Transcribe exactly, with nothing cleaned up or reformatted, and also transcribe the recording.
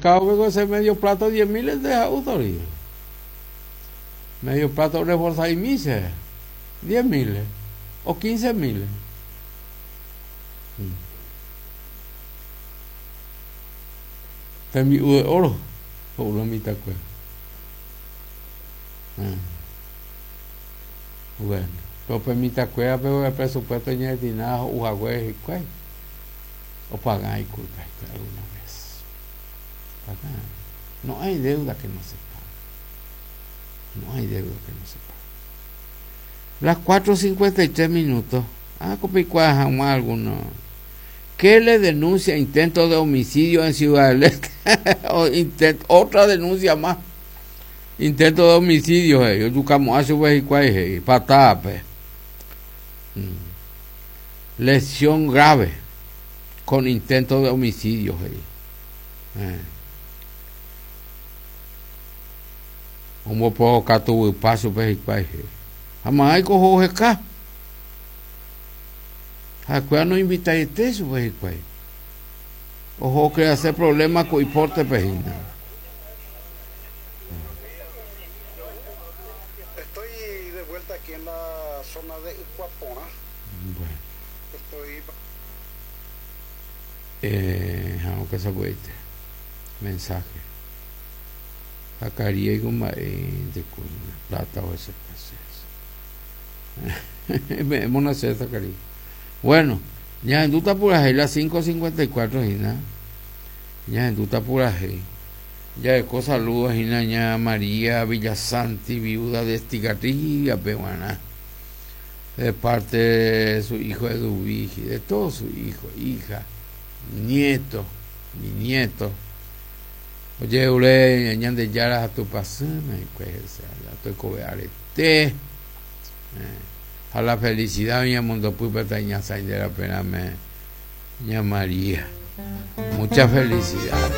Mercado con ese medio plato diez mil de autoría. Medio plato reforzado y mise diez mil o quince mil. Tembi'u de oro o una mitad cueva. Bueno, pero permita cueva, pero el presupuesto ñetinado ujagüe y cuay. O pagan y culpa alguna vez. Pagan. No hay deuda que no se pague. No hay deuda que no se pague. Las cuatro cincuenta y tres minutos. Ah, copicua jamás alguno. ¿Qué le denuncia intento de homicidio en Ciudad del Este? O intento, otra denuncia más. Intento de homicidio, eh. Yo buscamos a su vez y cuál es, patada, pe. Lesión grave con intento de homicidio, eh. Eh. Como puedo catu paso, pe, y cuál es. Jamás hay cojo acá. Acuá no invita a este su vez y cuál. Ojo que hacer problemas con importe pejina. Estoy de vuelta aquí en la zona de Icuapona. Bueno. Estoy. Eh, aunque se puede. Mensaje. Sacaría y con de plata o ese proceso. Hemos nacido Zacarías. Bueno, ya en duta pura las cinco cincuenta y cuatro, Gina. Ya en duta pura Ya de cosa saludos, Gina, ña María Villasanti, viuda de Estigarribia, peruana. De parte de su hijo Eduvigi, de todos sus hijos, hija, nieto, mi nieto. Oye, ule, ñan de yaras a tu pasame, pues, a tu cobearete. A la felicidad, mi mundo, pues, de la pena, me, ña María. Mucha felicidad.